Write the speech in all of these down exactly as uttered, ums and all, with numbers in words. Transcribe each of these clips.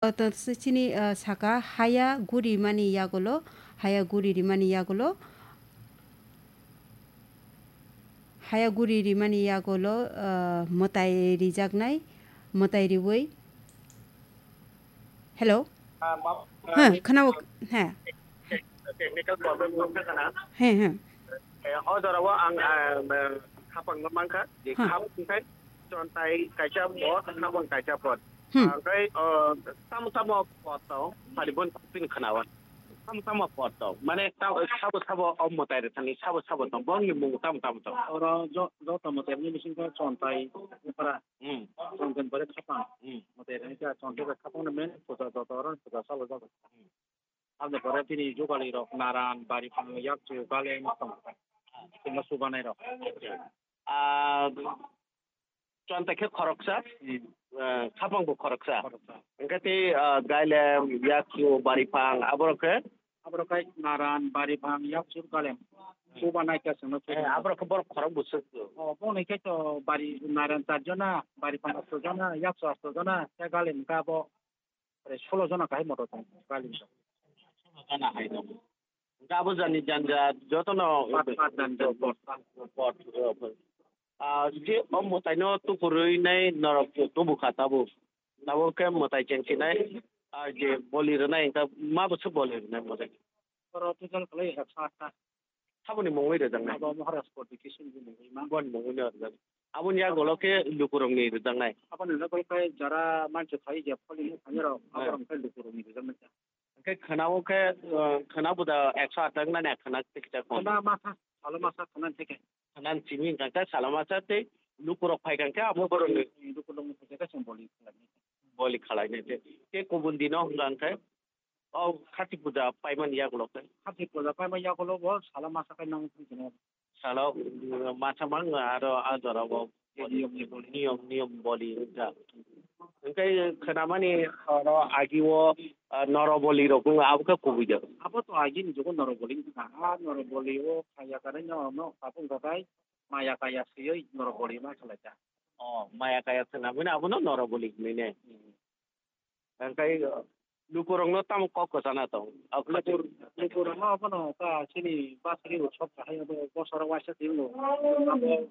to chini, ah, saka haya guri mani yagulo, haya guri rimani yagulo, haya guri rimani yagulo, ah, mwtai rijaknai, mwtai riwi. Hello? Ah, ma-, Huh, ah, khwnao, he. Technical problem wngkha kana? He, he. Eh, o jorao ang, ah, eh, khapang no mankha, je Huh. khap wngkhai, chontai kaisa pod, khapang kaisa pod. Hmm. Angkhai, oh, tamo tamo pod to, pari bon pin khnawan. Tamo tamo pod to, mane ta-, sabo sabo o mwtai rwthani, sabo sabo to, bongni mung tamo tamo to. Oro jo-, joto mwtai ni bisingtwi chontai, upra. Hmm. Chontai pore khapang. Hmm. Mwtai rwthani khe chontai bai khapang no men, puja joto oro puja salo jago. Hmm. Aboni pore bini jugalirok naran, bari phang, yakchu, galeng tong. Tei ma subanairok. Ah, chonta khe khoroksa, Hmm. ah, khapang bo khoroksa. Khoroksa. Hwnkhe tei, ah, gailem, yakchu, bari phang, aborok khe? Aborok khe naran, bari phang, yakchu, galem. Subanai khe chwngno Eh, subanai. Aborok khe borok khorok bo swk. Oh, boni khe to bari naran char jona, bari phang asto jona, yakchu asto jona, tei galem khe abo Ore solo jona kahai motor tong, kali. Jona hai tong. Hwnkhe abo jani janja jotono Pat, pat janja, pot. Pot, pot. Ah, je o mwtaino tukurwi nai norok tubukha tabuk. Tabuk khe mwtai chengsinai, ah, je boli rwnai, hwnkhe ma bwswk boli rwnai mwtai? Oro total khlai ekso atta. Saboni mungwi rwjaknai? Abo Maharaj Koti Kishore ni mungwi ma. Boni mungwi no rwjak. Aboni yagulo khe lukurokni rwjaknai? Aboni yagulo khe jara mancha khai je pholi ni thani rok, Hmm. aborok khe lukurokni rwjaknai. Hwnkhe khwnao khe, uh, khwna buda ekso atta wngmani khwna tei kisa kong. Khwna masa, salo masa khwna theke. Khwna simi hwnkha khe salo masa tei lukurok phai kha khe abo borokni Lukurokni theke khe chwng boli khlainai. Boli khlainai tei. Tei kubun dino hwnkha khe O Khati puja paimani yagulo khe. Khati puja paimani yagulo bo salo masa khai nang thang sino. Salo, mm, masa mang aro a jora bo Niyom ni boli. Niyom, niyom boli wngkha. Hwnkhe khwnamani oro agi o, ah, noroboli rok wngkha, abo khe kubui de. Abo to agi ni jugo noroboli wngkha. A noroboli o khaya kanai no, no, tabuk rogai maya kaya siyoi noroboli ma khalai kha. O, maya kaya khwnamani abono noroboli hinui ne. Hmm. Hwnkhe, uh, lukurokno tamo kok kwchana tong? Lukur-, lukurokno abono ta chini basri utsob kahai abo bosoro waisa twibo. Abo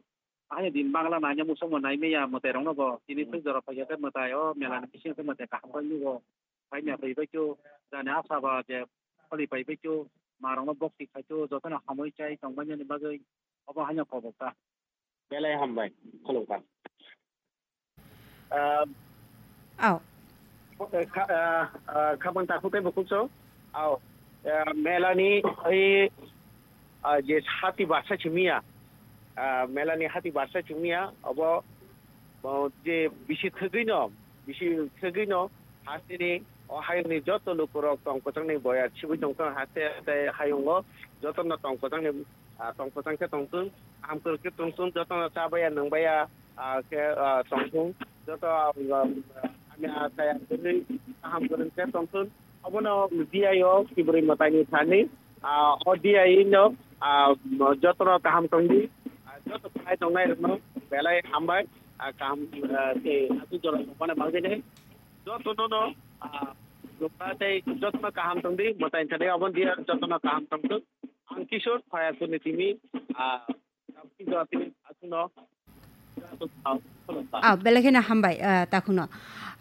ahai din Bangla naina muchungma nai maya mwtairokno bo tini Hmm. thik jora phaikhe mwtai o mela ni bisingo khe mwtai kaham bai nugo. Pai maya bai bai khe jani asa ba je kholi pai bai khe marokno bokti khai khe jotono hamwi chai tong mani bagwi obo haino kobok ta. Belai hambai, khulumkha. Ah, Aw. Kha-, ah, ah, khabang takhuk tei bukhuk song. Aw. Ah, melani oi, ah, je hati barsa chimiya. Ah, melani hati barsa chimiya. Obo, oh, je bisi thwgwi no, bisi thwgwi no, hasteni o hayungni joto lukurok tong kwchangni boyar sibui tongkha haste tei hayungo jotono tong kwchangni, ah, tong kwchang khe tongthung, kaham kwrwk khe tongthung, jotono chabaya nwngbaya, ah, khe, ah, tongthung, joto, ah, hamya kaya kwrwi kaham kwrwng khe tongthung. Obono D I o Kibrwi Mwtaini thani, ah, o D I no, ah, jotono kaham tongdi, ah, joto phai tongnai rokno belai hambai, ah, kaham, ah, tei aswk jora tongmani bagwino. Jotono no, ah, jotma tei jotono kaham tongdi, mwtai thani obo dia jotono kaham tongthung. Ang Kishore, Khayasuni timi, ah, aswkno, Ah, belai kheno hambai, ah, takhuno.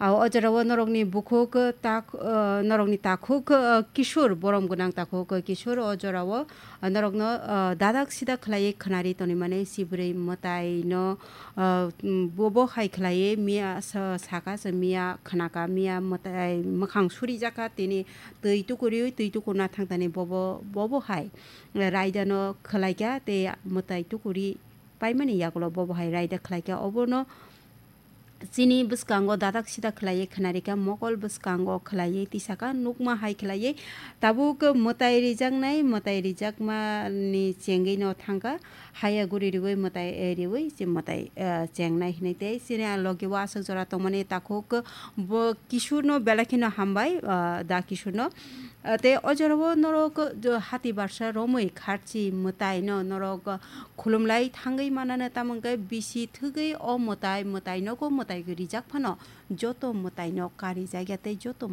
Ah, o jorao norokni bukhuk, tak-, ah, norokni takhuk, ah, Kishore, borom gwnang takhuk, ah, Kishore, o jorao, ah, norokno, ah, dadak sidak khlaiwi khwnari tonwi mani, sibwrwi mwtaino, ah, mm, bobo hai khlaiwi miya sa-, saka se miya khnaka, miya mwtai mwkhang surijakha, tini twi tukuriwi twi tukurna thangtani bobo, bobo hai raidano khlaikha tei mwtai tukuri paimani yagulo bobo hai raida khlaikha. Obono chini bwskango dadak sidak khlaiwi khwnarikha, mokol bwskango khlaiwi tisaka nukma hai khlaiwi tabuk mwtai rijaknai, mwtai rijakmani chengwino thangkha, haya guri riwi mwtai, eh, riwi se mwtai, eh, chengnai hinwi tei chini a logi o aswk jora tongmani takhuk bo Kishorno belai kheno hambai, ah, da Kishorno. Tei o jorao norok hati barsa romwi kharchi mwtaino norok khulumlai thangwi manano, tamo hwnkhe bisi thwgwi o mwtai, mwtainogo mwtai rijak phano joto mwtaino karijakya tei joto